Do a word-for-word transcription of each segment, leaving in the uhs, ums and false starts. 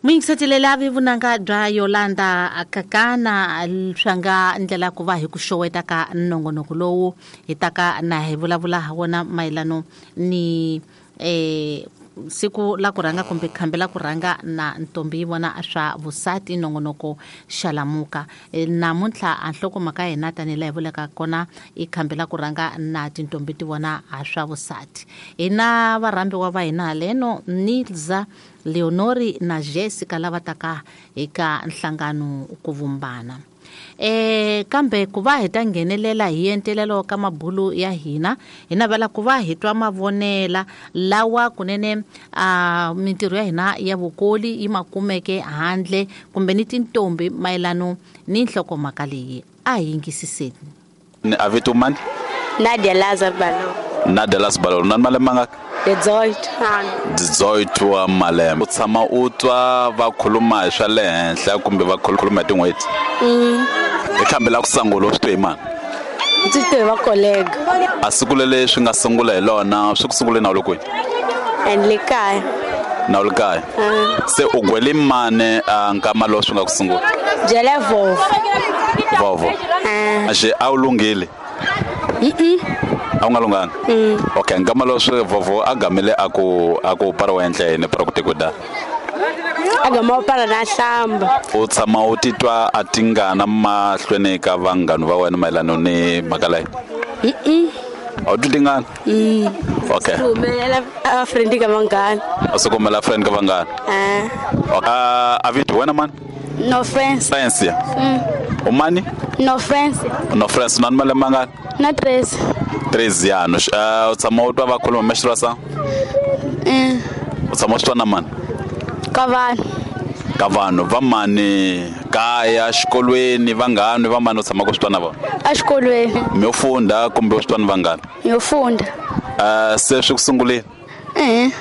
Muyingisetelela vi vunanga bya Yolanda Kakana swa nga ndlela ku va hi ku xoweta ka nongonoko lowu hi taka na hi vulavula ha wona mayelano ni eh siku la ku rhanga kumbe khambi la ku rhanga na ntombi yi vona swa vusati nongonoko Xalamuka. Namuntlha a nhlokomhaka ya hina tanihi laha hi vulaka kona i khambi la ku rhanga na tintombi ti vona ha swa vusati. Hi na varhambiwa va hina haleno Nilza, Leonori na Jessica lava taka eka nhlangano ku vumbana. Eh kambe ku va hi ta nghenelela hi entelelo ka mabulu ya hina hi navela ku va hi twa mavonela lawa kunene a mintirho ya hina ya vukoli yi makumeke handle kumbe ni tintombi mayelano ni nhlokomhaka leyi a hi yingisiseni. Ni avito mani? Nadia Lazar Balo. Nadia Lazar Balo, nani malembe mangaki? dezoito wa malembe. U tshama u twa va khuluma hi swa le henhla kumbe va khuluma hi tin'hweti? I khambi la ku sungula u swi twe hi mani? Ndzi twe hi va colleague. A siku leli swi nga sungula hi lona swi ku sungule na u le kwihi? And le kaya. Na u le kaya? Se u gwele mani a nkama lowu swi nga ku sungula? Byela vovo. Vovo. Axi a wu lunghile? A wu nga lunghanga? Okay, nkama lowu swi vovo a gamile a ku a ku para wa endla yini para ku tikuda? A gama para na hlamba. U tshama u titwa a tingana mahlweni ka vanghana va wena mayelana ni mhaka leyi? A wu twi tingana? Okay. Humelela a friend ka vanghana. A swi kumela friend ka vanghana? Eh. Okay. A vito wena mani? No friends. Friends ya? U mani? No friends. No friends, nani malembe mangani? Na treze. Treze anos. Uh, u tshama u twa va khuluma menstruação? Mm. U tshama u swi twa na mani? Ka vanhu. Ka vanhu va mani? Kaya, xikolweni, vanghani va mani u tshama ku swi twa na vona? Exikolweni. Mi yo funda kumbe u swi twa ni vanghani? Mi yo funda. Uh, se swi ku sungulile? Eh.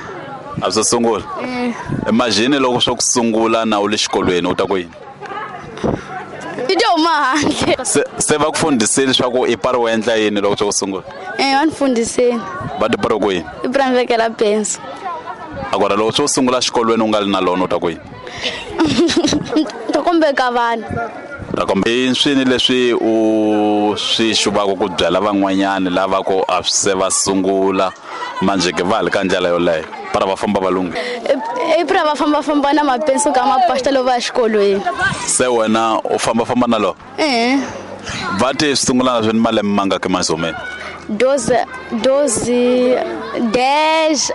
A swi sungula? Eh. Imagine loko swo ku sungula na u le xikolweni u ta ku yini? I to huma handle. Se se va ku fundisile leswaku i pari wa endla yini loko swo ku sungula? Eh, va ni fundisile. Va ti pari ku yini? I pari vekela penso. Agora loko swo sungula xikolweni u nga li na lona u ta ku yini? Ta kombeka vanhu. Ta kombe i swini leswi u swi xuvaka ku byela van'wanyani lava ku a se va sungula manje ke va li ka ndlela yoleyo para va famba va lunghi? I pra va famba famba na mapenso ka mapasta loko va ya xikolweni. Se wena u famba famba na lo? Eh. Va ti sungula na swini malembe mangaki mazomeni? Doze, doze, dez,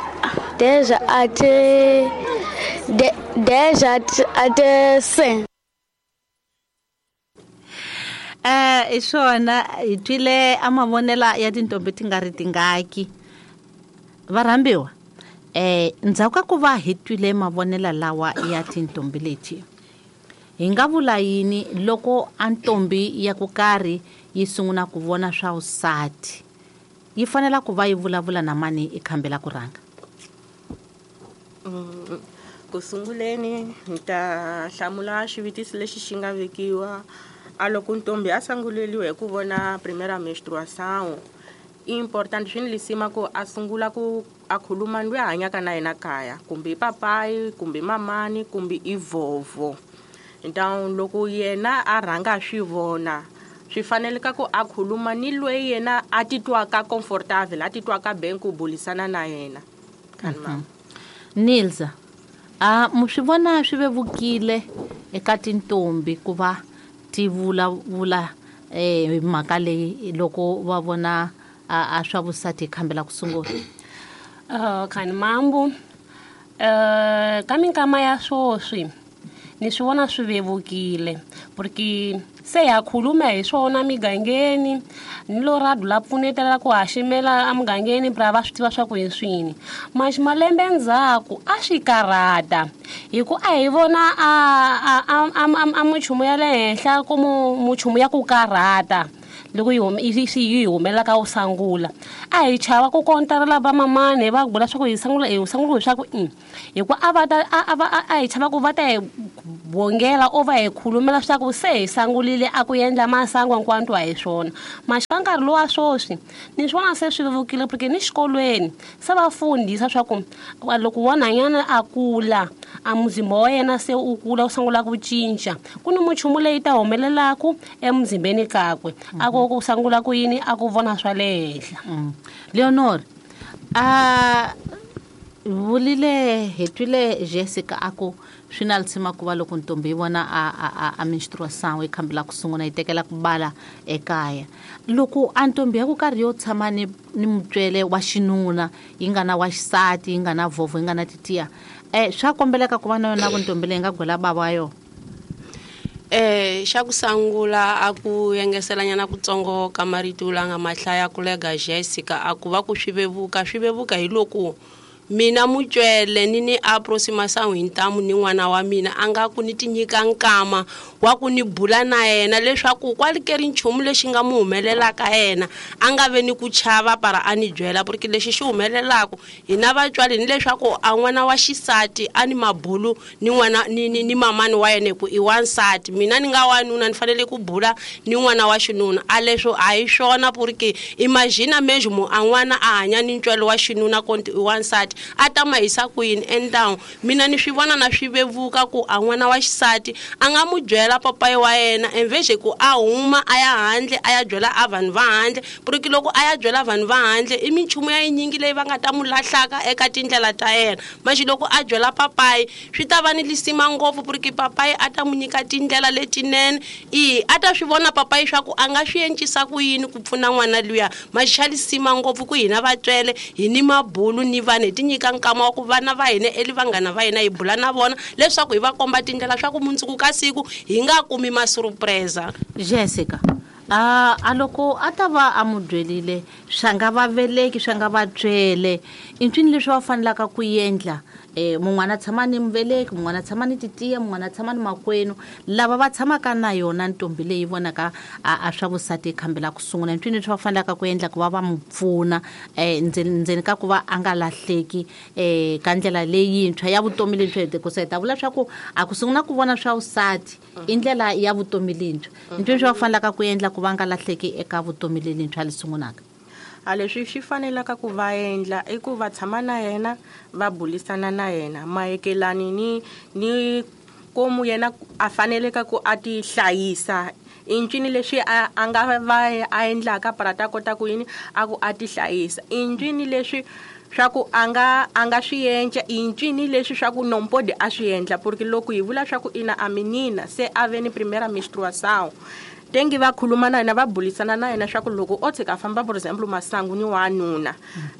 dez até, dez até cinco. Eh, i swona hi twile a mavonela ya tintombi ti nga ri tingaki. Varhambiwa, eh ndzhaku ka ku va hi twile mavonela lawa ya tintombi leti, hi nga vula yini loko a ntombi ya ku karhi yi sungula ku vona swa vusati yi fanela ku va yi vulavula na mani i khambi la ku rhanga? Ku sunguleni ni ta hlamula xivutiso lexi xi nga vekiwa. A loko ntombi a sunguleliwe hi ku vona primeira menstruação, i important swi ni lisima ku a sungula ku a khuluma loyi a hanyaka na yena kaya, kumbe i papayi, kumbe mamani, kumbe i vovo. Então loko yena a rhanga a swi vona, swi fanele ka ku a khuluma ni loyi yena a titwaka comfortable, a titwaka ben ku bulisana na yena. Mm-hmm. Nilza, a mu swi vona swi vevukile eka tintombi ku va ti vulavula eh mhaka leyi loko va vona a swa vusati khambi la ku sungula? Uh, khani mambu, uh, ka minkama ya swoswi ni swi vona swi vevukile porque se ya khuluma hi swona migangeni ni lo radu la pfunetela ku haximela emugangeni pra va swi tiva swa ku hi swini. Mas malembe ndzhaku a swi karhata hi ku a hi vona a a a a muchumu ya le henhla ku muchumu ya ku karhata loko yi yi yi humela ka u sangula. A hi chava ku kontarela va mamani va vula swa ku hi sangula hi sangula hi swa ku i hi ku a va ta a va a hi chava ku va ta hi bongela o va hi khulumela swa ku se hi sangulile a ku endla masangu hinkwanto a hi swona. Mas ka nkarhi lowa swoswi ni swi vona se swi vevukile porque ni xikolweni se va fundisa swa ku loko wanhanyana a kula a muzimba wa yena se u kula u sungula ku cinca ku ni muchumu leyi ta humelelaku emuzimbeni kakwe a ku ku sungula ku yini a ku vona swa le henhla. Leonor a vulile hi twile Jessica a ku swi na lisima ku va loko ntombi yi vona a a a menstruation yi khambela ku sungula yi tekela ku bala ekaya loko a ntombi ya ku karhi yo tshama ni ni mutswele wa xinuna yi nga na wa xisati yi nga na vhovho yi nga na titiya eh swa kombeleka ku va na yona ntombi leyi nga gwela bava wa yona. Eh xa ku sangula a ku yengeselanyana kutsongo ka marito la nga mahlaya ku lega Jessica a ku va ku swi vevuka swi vevuka hi loko mina mutswele ni ni aproximação hi ntamu ni n'wana wa mina a nga ku ni ti nyika nkama wa ku ni bula na yena leswaku kwalikeri nchumu lexi nga mu humelelaka yena a nga ve ni ku chava para a ni byela porque lexi xi humelelaka hina vatswari ni leswaku a n'wana wa xisati a ni mabulu ni n'wana ni ni, ni mamani wa yena hi ku i wansati mina ni nga wanuna ni fanele ku bula ni n'wana wa xinuna a leswo a hi swona porque imagina mesmo a n'wana a hanya ni ntswalo wa xinuna konti i wansati a ta ma hisa ku yini endawu mina ni swi vona na swi vevuka ku a n'wana wa xisati a nga mu byela papayi wa yena enveje ku a huma a ya handle a ya byela a vanhu va handle porque loko a ya byela vanhu va handle i minchumu ya yinyingi leyi va nga ta mu lahlaka eka tindlela ta yena maxi loko a byela papayi swi ta va ni lisima ngopfu porque papayi a ta mu nyika tindlela letinene i a ta swi vona papayi swa ku a nga swi encisa ku yini ku pfuna n'wana luya maxi xa lisima ngopfu ku hina vatswele hi ni mabulu ni vanhu hi nyika nkama wa ku vana va hina eli vanghana va hina hi bula na vona leswaku hi va komba tindlela swa ku mundzuku ka siku hi nga kumi masurpresa. Jessica a a loko a ta va a mu byelile swa nga va veleki swa nga va byele i ncini leswi va fanelaka ku endla eh mun'wana tshama ni muveleki mun'wana tshama ni titiya mun'wana tshama ni makwenu lava va tshamaka na yona ntombi leyi vonaka a, a swa vusati khambela ku sungula ncini leswi va fanelaka ku endla ku va va mu pfuna eh ndzeni ndzeni ka ku va a nga lahleki eh ka ndlela leyintshwa ya vutomi leyintshwa hi ku ta vula swa ku a ku sungula ku vona swa vusati i ndlela ya vutomi leyintshwa ncini leswi va fanelaka ku endla ku va nga lahleki eka vutomi leyintshwa li sungulaka. A leswi swi fanelaka ku va endla i ku va tshama na yena va bulisana na yena mayekelani ni ni komu yena a faneleka ku a ti hlayisa i ncini leswi a a nga va a endlaka para ta kota ku yini a ku a ti hlayisa i ncini leswi swa ku a nga a nga swi endla i ncini leswi swa ku nompodi a swi endla porque loko hi vula swa ku ina a menina se a ve ni primeira menstruação tengi va khuluma na yena va bulisana na yena swa ku loko o tshika famba for example masangu ni wanuna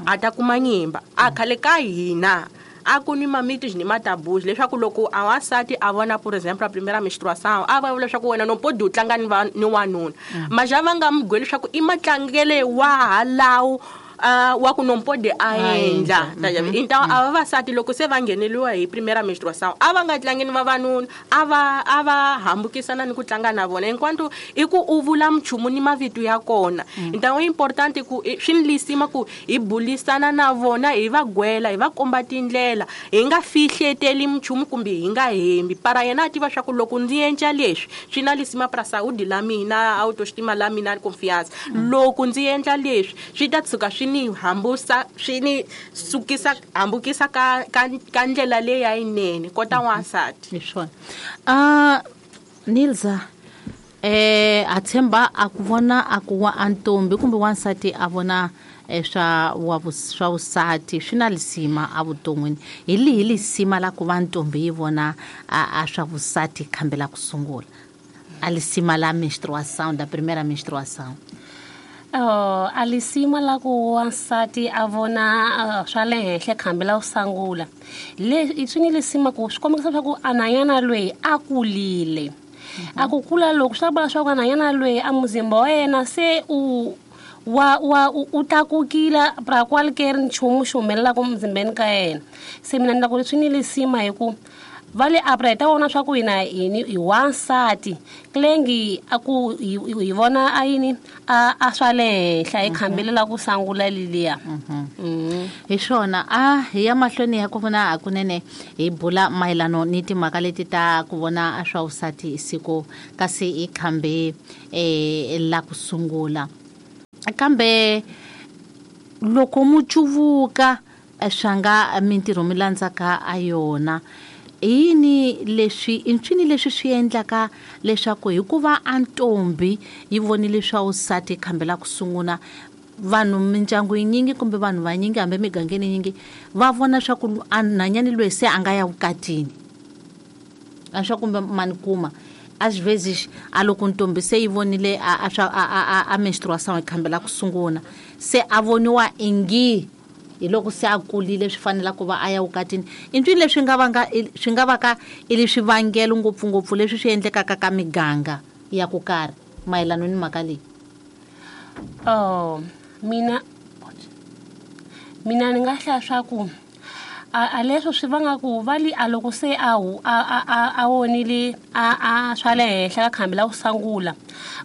a ta kuma nyimba a khale ka hina a ku ni mamitos ni matabus leswaku loko a wansati a vona por exemple a primeira menstruação a va vula leswaku wena no podi u tlanga ni va ni wanuna maja va nga mu byeli leswaku i matlangele wa halawu Uh, wa ku nompode a endla então a vavasati loko se va ngheneliwa hi primeira menstruação a va nga tlangi ni vavanuna a va a va hambukisana ni ku tlanga na vona enquanto i ku u vula mchumu ni mavito ya kona então i important ku swi ni lisima ku hi bulisana na vona hi va gwela hi va komba tindlela hi nga fihleteli mchumu kumbe hi nga hembi para yena a tiva swa ku loko ndzi endla leswi swi na lisima pra saúde la mina autoestima la mina confiança loko ndzi endla leswi swi ta tshuka swi ni hambusa swi ni sukisa hambukisa ka ka ka ndlela leyi ya yinene kota wansati hi swona. A Nilza eh a tshemba a ku vona a ku wa antombi kumbe wansati a vona swa wa swa vusati swi na lisima a vuton'wini hi lihi lisima la ku va ntombi yi vona a swa vusati khambela ku sungula a lisima la menstruação da primeira menstruação. Oh, a lisima la ku wansati a vona uh, swa le henhla khambela u sangula le swi ni lisima ku swi kombisa swa ku ananyana loyi a kulile a ku kula loko swi vula swa ku ananyana loyi a muzimba wa yena se u wa wa u tlakukile pra qualquer nchumu xi humelelaka muzimbeni ka yena se mina ni la ku swi ni lisima hi ku va le apra hi ta vona swa ku hina hi hi wansati klengi a ku hi vona a yini a a swa le henhla hi khambelela ku sangula leliya. Hi swona a hi ya mahlweni ya ku vona hakunene hi bula mayelano ni timhaka leti ta ku vona a swa vusati siku kasi hi khambe eh la ku sungula kambe loko mu cuvuka swa nga mintirho mi landzaka a yona Yini leswi i ncini leswi swi endlaka leswaku hikuva a ntombi yi vonile swa vusati khambe la ku sungula, vanhu mindyangu yinyingi kumbe vanhu vanyingi hambi migangeni yinyingi va vona swa ku a nhwanyani loyi se a nga ya vukatini, a swa kumbe mani kuma às vezes a loko ntombi se yi vonile a a swa a a a menstruação yi khambela ku sungula, se a voniwa ingi hi loko se a kulile swi fanela ku va a ya vukatini. I ncini leswi nga vanga swi nga va ka i le swivangelo ngopfungopfu leswi swi endlekaka ka miganga ya ku karhi mayelana ni mhaka leyi? Oh, mina mina ni nga hlaya swa ku a a leswo swi vanga ku va li a loko se a hu a a a a vonile a a swa le henhla ka khambi la ku sangula,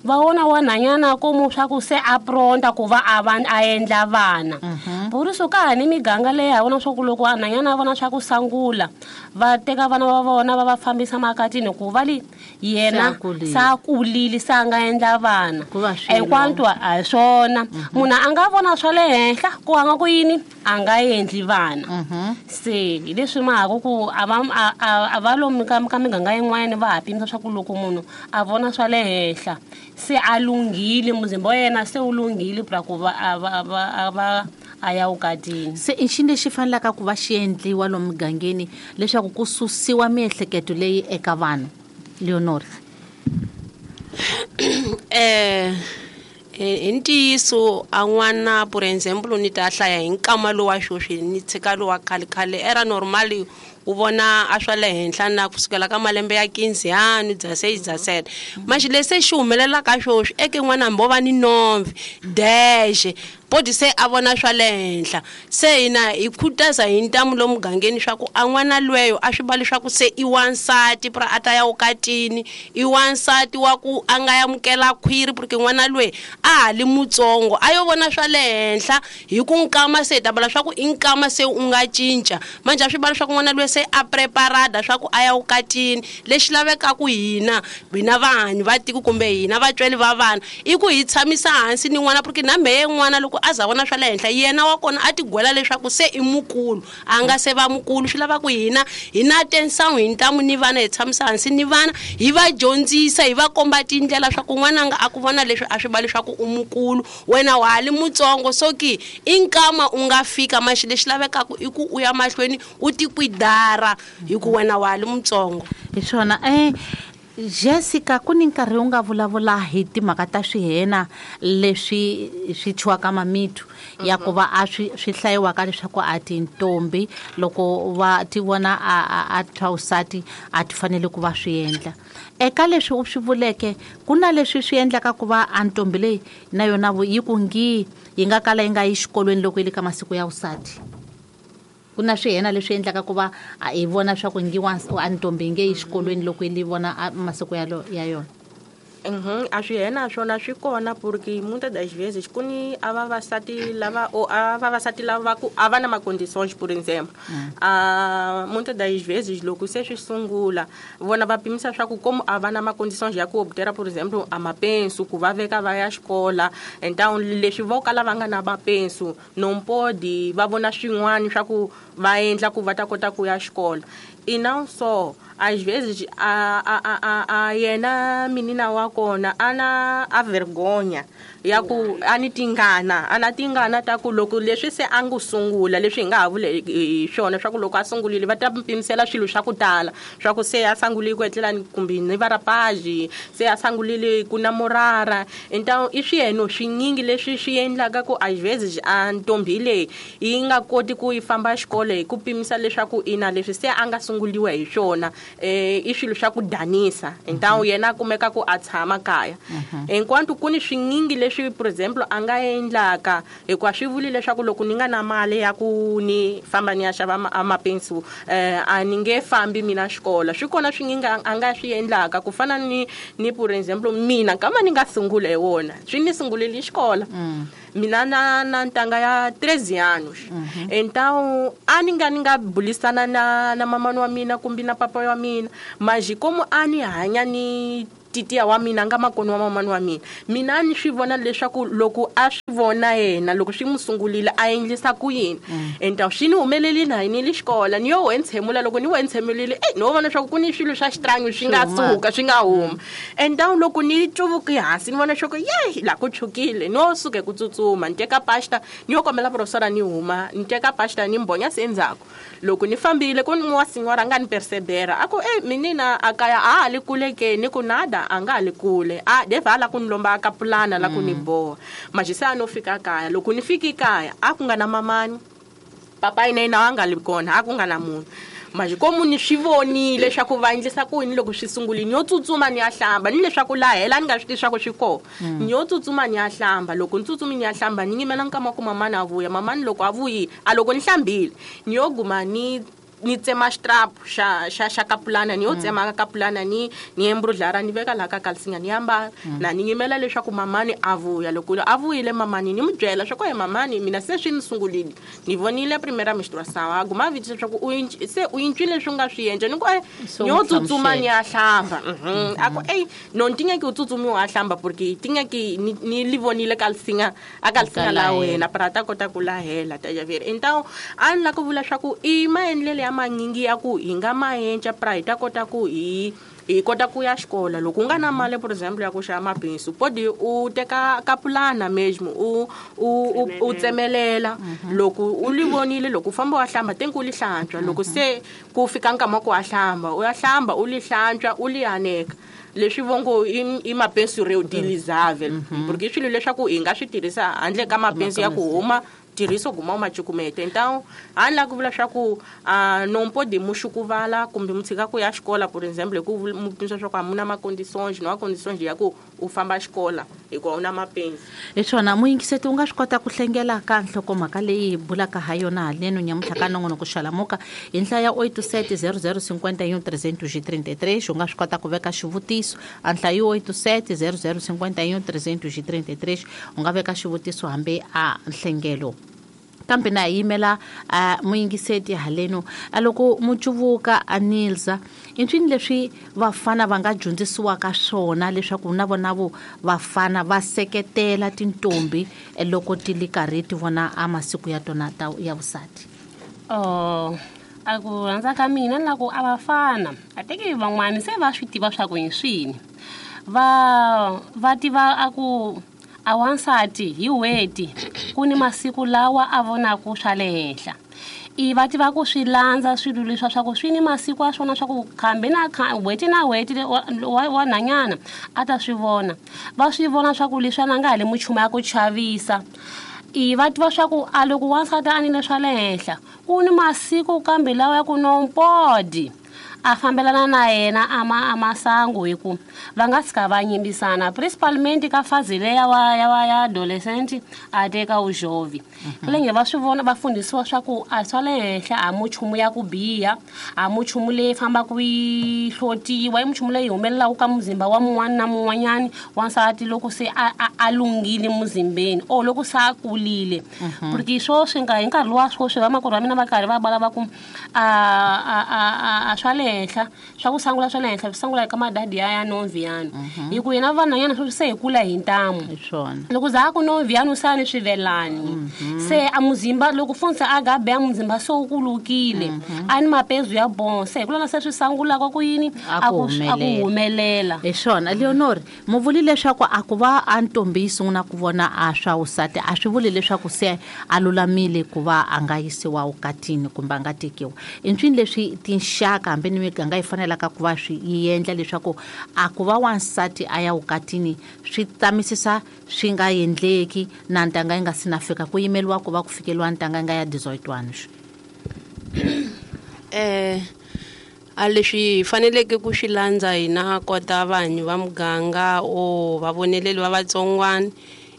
va vona wanhanyana komu swa ku se a pronta ku va a va a endla vana. Buriso ka ha ni miganga leyi ha vona swa ku loko wanhanyana a vona swa ku sangula, va teka vana va vona va va fambisa makatini ku va li yena Se a kulile. se a kulile, se a nga endla vana. Ku va swilo. Hinkwato a hi swona. Munhu a nga vona swa le henhla ku a nga ku yini a nga endli vana. Se hi leswi mhaka ku a va a a a va lomu ka ka miganga yin'wanyana va ha pimisa swa ku loko munhu a vona swa le henhla se a lunghile, muzimba wa yena se wu lunghile pra ku va a va a va a va a ya vukatini. Se i xini lexi fanelaka ku va xi endliwa lomu mugangeni leswaku ku susiwa miehleketo leyi eka vanhu, Leonor? Eh, hi ntiyiso a n'wana, por example, ni ta hlaya hi nkama lowa sweswi ni tshika lowa khale khale era normal u vona a swa le henhla na kusukela ka malembe ya quinze anos, dezesseis, dezessete. Mas lexi xi humelelaka sweswi eke n'wana hambi o va ni nove, dez, pode ser a vona swa le henhla. Se hina hi khutaza hi ntamu lomu mugangeni swa ku a n'wana lweyo a swi va leswaku se i wansati pra a ta ya vukatini, i wansati wa ku a nga amukela khwiri, porque n'wana lweyi a ha li mutsongo a yo vona swa le henhla hi ku nkama se hi ta vula swa ku i nkama se u nga cinca. Manjhe a swi va leswaku n'wana lweyi se a preparada swa ku a ya vukatini. Lexi lavekaka hina, hina vanhu va tiko kumbe hina vatswari va vana, i ku hi tshamisa hansi ni n'wana, porque na mehe n'wana loko a za vona swa le henhla yena wa kona a tigwela leswaku se i mukulu, a nga se va mukulu. Swi lava ku hina hi na atenção hi ntamu ni vana, hi tshamisa hansi ni vana, hi va dyondzisa, hi va komba tindlela swa ku n'wananga a ku vona leswi a swi va leswaku u mukulu, wena wa ha li mutsongo. So ki i nkama u nga fika, maxi lexi lavekaka i ku u ya mahlweni u tikwidara hi ku wena wa ha li mutsongo. Hi swona. Eh, Jessica, ku ni nkarhi u nga vulavula hi timhaka ta swihena leswi swi thyiwaka mamithu ya ku va a swi, swi hlayiwaka leswaku a tintombi loko va ti vona a, a, a thya vusati a ti fanele ku va swi endla. Eka leswi u swi vuleke, ku na leswi swi endlaka ku va a ntombi leyi na yona yi ku ngi yi nga kala yi nga yi xikolweni loko yi le ka masiku ya vusati. Ku na swihena leswi endlaka ku va a hi vona swa ku ngi wa a ntombi yi nge yi xikolweni loko yi vona a masiku ya lo, ya yona. Uhum, a swihena swona swi kona, porque muitas das vezes ku ni a vavasati lava o a vavasati lava ku a va na ma-condições, por exemplo. A muitas das vezes loko se swi sungula vona va pimisa swa ku como a va na ma-condições ya ku obtera, por exemplo, a mapenso ku va veka va ya xikola. Então leswi vo kala va nga na mapenso não pode va vona swin'wana swa ku va endla ku va ta kota ku ya xikola. E não só, às vezes a, a, a, a, a yena menina wa kona a na a vergonha ya ku a ni tingana, a na tingana ta ku loko leswi se a ngo sungula leswi hi nga ha vule hi swona swa ku loko a sungurile va ta pimisela swilo swa ku tala swa ku se a sungulile ku etlela ni kumbe ni va rapage, se a sungulile ku namorara. Então i swiyeno swinyingi leswi swi endlaka ku às vezes a ntombi leyi yi nga koti ku yi famba xikolo hi ku pimisa leswaku ina leswi se a nga sunguliwa hi swona, eh, i swilo swa ku danisa. Então yena a kumeka ku a tshama kaya. Enquanto ku ni swinyingi leswi, por exemplo, a nga endlaka, hikuva swi vuli leswaku loko ni nga na mali ya ku ni famba ni ya xava ma-, a mapensu, eh, a ni nge fambi mina xikola. Swi kona swinyingi a, a nga swi endlaka, ku fana ni, ni por exemplo, mina kama ni nga sungula hi wona, swi ni sungulile xikola. Mina na, na ntanga ya treze anos. Então a ni nga, ni nga bulisana na, na mamani wa mina kumbe na papa wa mina, mas como a ni hanya ni titiya wa mina nga makoni wa mamani wa mina, mina ni swi vona leswaku loko a Vona yena loko swi n'wi sungulile a endlisa ku yini enta swi ni humeleli na yini le xikola ni yo we ntshemula loko ni we ntshemulile e no vona swa ku ku ni swilo swa xitrangi swi nga suka swi nga huma enta loko ni cuvuki hansi ni vona swa ku ye la ku chukile no suke ku tsutsuma ni teka pasta ni yo kombela professor ni huma ni teka pasta ni mbonya se endzhaku loko ni fambile ku ni wa signora nga ni persevera a ku e minina a kaya a ha li kule ke ni ku nada a nga ha li kule a deva la ku ni lomba ka pulana la ku ni boha majisa no fika kaya loko ni fiki kaya a ku nga na mamani papa ina ina nga li kona a ku nga na munhu manje komu ni swi vonile leswaku va endlisa ku yini loko swi sungulile ni yo tsutsuma ni ya hlamba ni leswaku la hela ni nga swi tivi swa ku swi kona ni yo tsutsuma ni ya hlamba loko ni tsutsumi ni ya hlamba ni yimela nkama ku mamani a vuya mamani loko a vuyile a loko ni hlambile ni yo guma ni ni tsema strap xa xa xa kapulana ni yo tsema kapulana ni ni embrudlara ni veka la ka kalsinga ni yamba na ni yimela leswaku mamani a vuya loko a vuyile mamani ni mu byela swa ku he mamani mina se swi ni sungulile ni vonile primera menstruação a guma viti swa ku u se u incwile leswi nga swi endla ni ku ni yo tsutsuma ni ya hlamba a ku ey no ntinga ki u tsutsumi wa hlamba porque tinga ki ni li vonile kalsinga a kalsinga la wena para ta kota ku lahela ta ya ver então a ni la ku vula swa ku i maendlele ya manyingi ya ku hi nga maenca pra hi ta kota ku hi hi kota ku ya xikola loko u nga na mali por example ya ku xava mapensu podi u teka kapulana mesmo u u u tsemelela loko u li vonile loko u famba wa hlamba tenku u li hlantswa loko se ku fika nkama ku wa hlamba u ya hlamba u li hlantswa u li aneka leswi vongo i mapensu reutilizável porque swilo leswaku hi nga swi tirhisa handle ka mapensu ya ku huma tirhiso guma u macukumete então a ni la ku vula swa ku não pode muxukuvala kumbe mu tshika ku ya xikola por exemple ku mu pimisa swa ku a mu na ma-condições não há condições ya ku u famba xikola hikuva u na mapensi hi swona muyingiseti u nga swi kota ku hlengela ka nhlokomhaka leyi hi bulaka ha yona haleno nyamuntlha ka nongonoko Xalamuka hi nhlaya ya oito sete zero zero cinquenta e um trezentos e trinta e três u nga swi kota ku veka xivutiso a nhlayo oito sete zero zero cinquenta e um trezentos e trinta e três u nga veka xivutiso hambi a nhlengelo kambe na yimela uh, muyingiseti haleno a loko mucuvuka a Nilza i ncini leswi vafana va nga dyondzisiwaka swona leswaku na vona vo vafana va seketela tintombi loko ti li karhi ti vona a masiku ya tona ta ya vusati oh a ku rhandza ka mina na ku a vafana a teki van'wani se va swi tiva swa ku hi swini va va tiva a ku a wansati hi weti ku ni masiku lawa a vonaku swa le henhla i va tiva ku swi landza swilo leswa swa ku swi ni masiku a swona swa ku khambe na weti na weti wa wa nhanyana a ta swi vona va swi vona swa ku leswi a nga ha le muchumu ya ku chavisa i va tiva swa ku a loko wansati a nile swa le henhla ku ni masiku kambe lawa ya ku nompodi a fambelana na yena a ma a masangu hi ku va nga tshika va nyimbisana principalmente ka fazi leya wa ya wa ya adolescent a teka u jovem kulenge va swi vona va fundisiwa swa ku a swa le henhla a muchumu ya ku biha a muchumu leyi fambaka yi hlotiwa i muchumu leyi humelelaka ka muzimba wa mun'wana na mun'wanyani wansati loko se a a, a lunghile muzimbeni o loko se a kulile porque swoswi nga hi nkarhi lowa swoswi vamakwerhu va mina va karhi va valava ku a a a a swa le henhla swa ku sangula swa le henhla swi sangula eka madadi ya ya nomviyano hi ku yena vanhwanyana sweswi se hi kula hi ntamu loko za ku nomviyano sa ni swivelani se a muzimba loko funza a gabe a muzimba se wu kulukile a ni mapezu ya bon se hi kulana se swi sangulaka ku yini a ku a ku humelela hi swona Leonor mu vuli leswaku a ku va a ntombi yi sungula ku vona a swa vusati a swi vuli leswaku se a lulamile ku va a nga yisiwa vukatini kumbe a nga tekiwa i ncini leswi tinxaka hambi ni miganga yi fanelaka ku va swi yi endla leswaku a ku va wansati a ya vukatini swi tamisisa swi nga endleki na ntanga yi nga si na fika ku yimeliwa ku va ku fikeliwa ntanga yi nga ya dezoito anos eh a leswi faneleke ku swi landza hina kota vanhu va muganga o vavoneleli va vatsongwana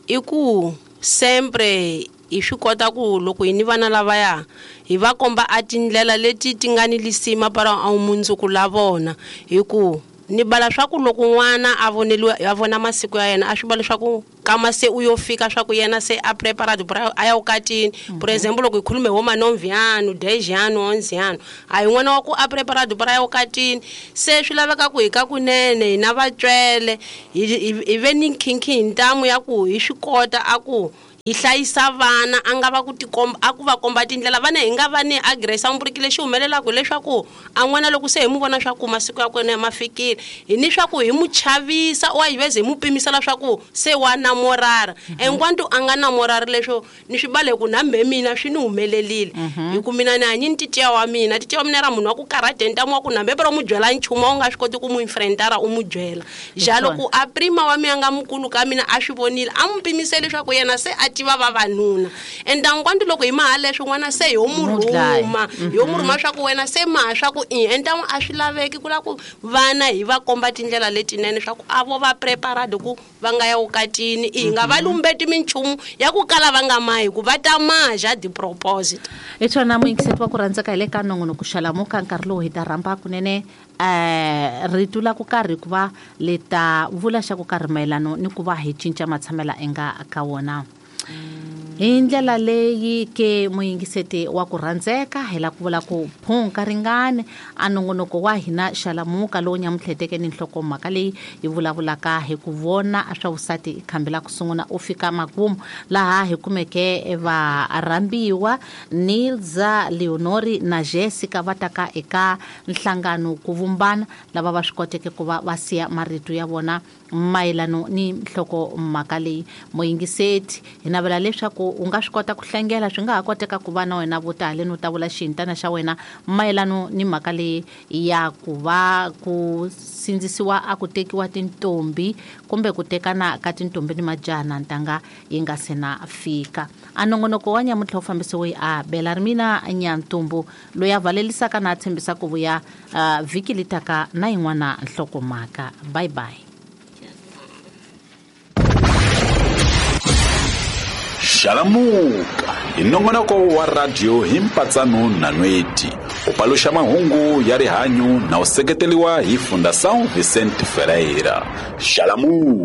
i ku sempre hi swi kota ku loko hi ni vana lavaya hi va komba a tindlela leti ti nga ni lisima para a mundzuku la vona hi ku ni bala swa ku loko n'wana a voneliwa a vona masiku ya yena a swi va leswaku kama se u yo fika swa ku yena se a preparado para a ya vukatini por exemple loko hi khulume ho ma nove ano dez ano onze ano a hi n'wana wa ku a preparado para ya vukatini se swi laveka ku hi ka kunene hina vatswele hi hi ve ni nkhinkhi hi ntamu ya ku hi swi kota a ku Hi hlayisa vana a nga va ku tikomba a ku va komba tindlela vana hi nga va ni aggressor mburiki lexi humelelaka leswaku a n'wana loko se hi mu vona swa ku masiku ya kwena ma fikile hi ni swa ku hi mu chavisa wa hi veze hi mu pimisela swa ku se wa namorara enquanto a nga namorari leswo ni swi bale ku na mbe mina swi ni humelelile hi ku mina ni hanyi ni titiya wa mina titiya wa mina ra munhu wa ku karhate ntamu wa ku nambe pero mu byela nchumu a wu nga swi koti ku mu infrentara u mu byela ja loko a prima wa mina nga mukulu ka mina a swi vonile a mu pimisele leswaku yena se a tiva vavanuna ende nkwanti loko hi maha leswo n'wana se ho mu rhuma hi ho mu rhuma swa ku wena se maha swa ku i ende a swi laveki ku la ku vana hi va komba tindlela letinene swa ku a vo va prepared ku va nga ya vukatini i nga va lumbeti minchumu ya ku kala va nga mahi ku va ta maja di propose hi swona muyingiseti wa ku rhandzeka hi le ka nongonoko Xalamuka nkarhi lowu hi ta rhamba kunene eh rito la ku karhi ku va le ta vula xa ku karhi mayelano ni ku va hi cinca matshamela enga ka wona hi ndlela leyi ke muyingiseti wa ku rhandzeka hi la ku vula ku phunka ringane a nongonoko wa hina Xalamuka lowu nyamutlheteke ni nhlokomhaka leyi hi vulavulaka hi ku vona swa vusati khambi la ku sungula u fika makumu laha hi kumeke varhambiwa Nilza, Leonori na Jessica va taka eka nhlangano ku vumbana lava va swi koteke ku va va siya marito ya vona mayelano ni nhlokomhaka leyi muyingiseti hi navela leswaku u nga swi kota ku hlengela swi nga ha koteka ku va na wena vo tala no ta vula xintana xa wena mayelano ni mhaka leyi ya ku va ku sindzisiwa a ku tekiwa tintombi kumbe ku tekana ka tintombi ni majaha na ntanga yi nga se na fika a nongonoko wa nyamuntlha wu fambisiwe a Bela ri mina Nyantumbu loyi a valelisaka na a tshembisa ku vuya uh, vhiki litaka na yin'wana nhlokomhaka. Bye bye. Xalamuka hi nongonoko wa radio hi mpatsano na nweti u paluxa mahungu ya rihanyu na u seketeriwa hi Fundação Vicente Ferreira. Xalamuka.